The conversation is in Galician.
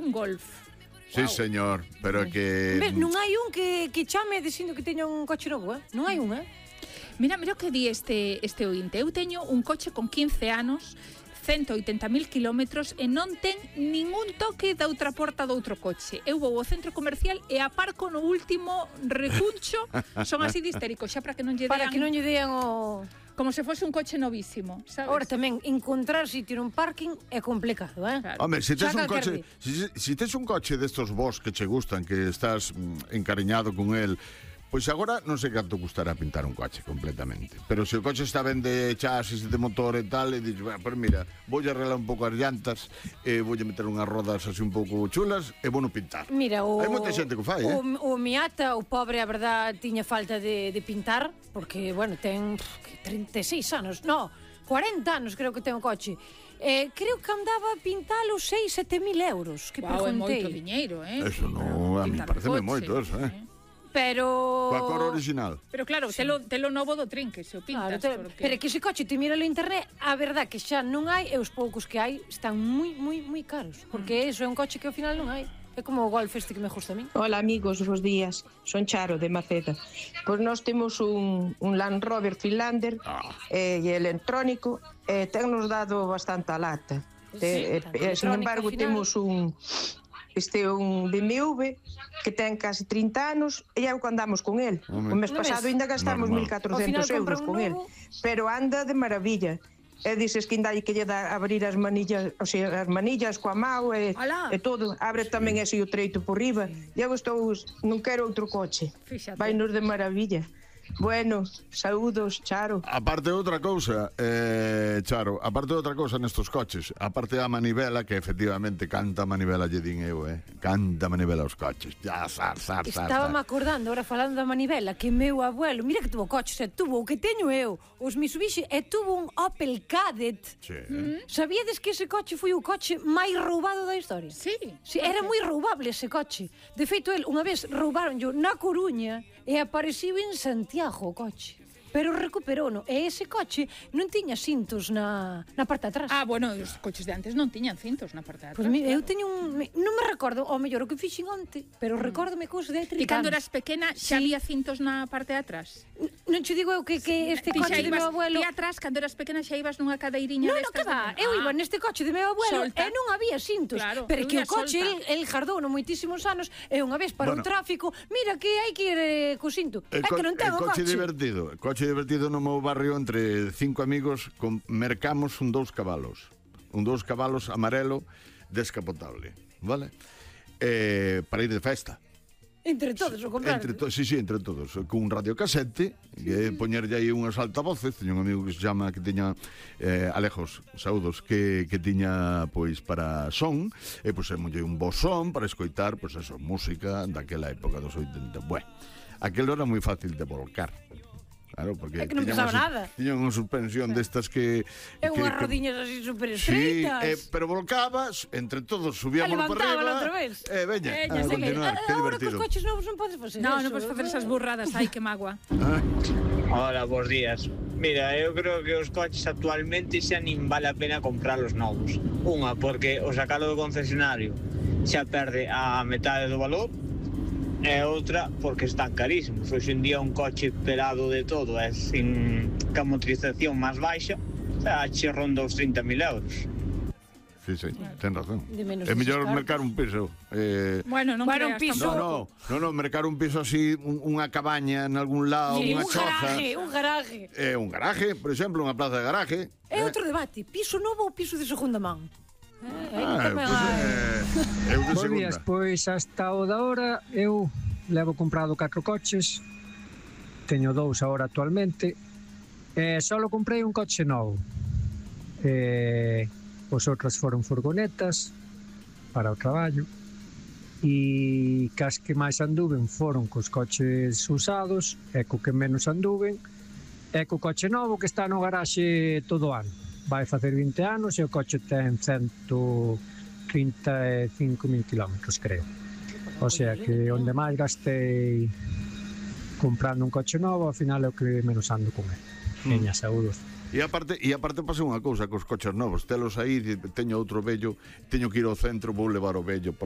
un Golf. Sí, señor, pero que... Non hai un que chame dicindo que teña un coche novo, Non hai un, Mira o que di este ointe. Eu teño un coche con 15 anos, 180.000 kilómetros e non ten ningún toque da outra porta do outro coche. Eu vou ao centro comercial e aparco no último recuncho. Son así de histérico, xa para que non lle dean... Para que non lle dean o... Como se fose un coche novísimo, sabes? Ahora tamén, encontrar sitio nun parking é complicado, Claro. Home, se tes un coche, si tes un coche destos vos que che gustan, que estás encariñado con el, pois agora non sei canto custará pintar un coche completamente. Pero se o coche está ben de chasis, de motor e tal, e dixes, bueno, pues mira, vou arreglar un pouco as llantas, e vou meter unhas rodas así un pouco chulas, e vou no pintar. Mira, hai moita xente que o fai, O Miata, o pobre, a verdad, tiña falta de pintar, porque, bueno, ten 36 anos, 40 anos creo que ten o coche. Creo que andaba a pintalo 6-7 mil euros, que preguntei. É moito diñeiro, Eso non, a mí pareceme moito eso, Pero... Coa cor original. Pero claro, telo novo do trinque, se o pintas. Pero que ese coche te mira no internet, a verdad que xa non hai, e os poucos que hai están moi caros, porque eso é un coche que ao final non hai. É como o Golf este que me gusta a mí. Hola amigos, bos días. Son Charo de Maceda. Pois nós temos un Land Rover Finlander e electrónico, e ten nos dado bastante a lata. Sin embargo, temos un BMW que ten casi 30 anos e é o que andamos con el. O mes pasado ainda gastamos 1.400 euros con el, pero anda de maravilla. E dices que ainda hai que lle dar abrir as manillas, o sea, as manillas coa mão e todo, abre tamén ese o treito por riba. E eu non quero outro coche. Vai nos de maravilla. Bueno, saúdos, Charo. Aparte de outra cousa, Charo, aparte de outra cousa nestos coches, aparte da manivela, que efectivamente canta manivela lle din eu, canta manivela aos coches. Ya, Estaba-me acordando, ahora falando da manivela, que meu abuelo, mira que tuvo coches, tuvo o que teño eu, os Mitsubishi, e tuvo un Opel Kadett. Sí. Sabíades que ese coche foi o coche máis roubado da historia? Sí. Era moi roubable ese coche. De feito, el unha vez roubaronllo na Coruña e apareciu en Santiago o coche. Pero recuperouno. E ese coche non tiña cintos na parte de atrás. Bueno, os coches de antes non tiñan cintos na parte de atrás. Pois eu teño non me recordo, ao mellor o que fixen onte, pero recórdome cousa de 30 anos. E cando eras pequena xa había cintos na parte de atrás? Non te digo eu que este coche de meu abuelo... Ti atrás, cando eras pequena, xa ibas nunha cadeiriña destas? Non, que va, eu iba neste coche de meu abuelo e non había cintos. Pero que o coche, el jardouno moitísimos anos, e unha vez para o tráfico, mira que hai que ir co cinto. É que non ten o coche. O coche divertido no meu barrio, entre 5 amigos, mercamos un 2 cabalos amarelo descapotable, vale? Para ir de festa. Entre todos o compraron. Entre todos, con un radiocasete, que poñerlle aí unhas altavoces. Teño un amigo que se chama, que tiña Alejos, saúdos, que tiña pois para son, e pois molle un bo son para escoitar, pois eso, música daquela época dos 80. Bueno, aquelo era moi fácil de volcar. Claro, porque é que non pesaba nada. Tiñan unha suspensión destas que... É unhas rodiñas así super estreitas. Sí, pero volcabas, entre todos subíamos para arriba. outra vez. Veña, a continuar, que divertido. Agora que os coches novos non podes facer eso. Non podes facer esas burradas, ai, que magua. Hola, bons días. Mira, eu creo que os coches actualmente xa nin vale a pena comprarlos novos. Unha, porque o sacalo do concesionario xa perde a metade do valor, e outra porque están carísimos. Hoxe en día un coche pelado de todo, sin ca motorización máis baixa, che ronda os 30.000 euros. Sí, ten razón. É mellor mercar un piso. Bueno, non creas. Un piso. No, mercar un piso así, unha cabaña en algún lado, unha choza. Un garaje. Un garaje, por exemplo, unha plaza de garaje. É outro debate, piso novo ou piso de segunda man? Bos días, pois hasta o da hora eu levo comprado 4 coches, teño 2 agora actualmente, e só comprei un coche novo. Os outros foron furgonetas para o traballo, e cas que máis anduven foron cos coches usados, e co que menos anduven é co coche novo que está no garaxe todo o ano. Vai facer 20 anos e o coche ten 135.000 kilómetros, creo. O sea que onde máis gastei comprando un coche novo, ao final é o que menos ando con ele. Veña, saúdos. E aparte pasa unha cousa cos coches novos, telos aí, teño outro vello, teño que ir ao centro, vou levar o vello por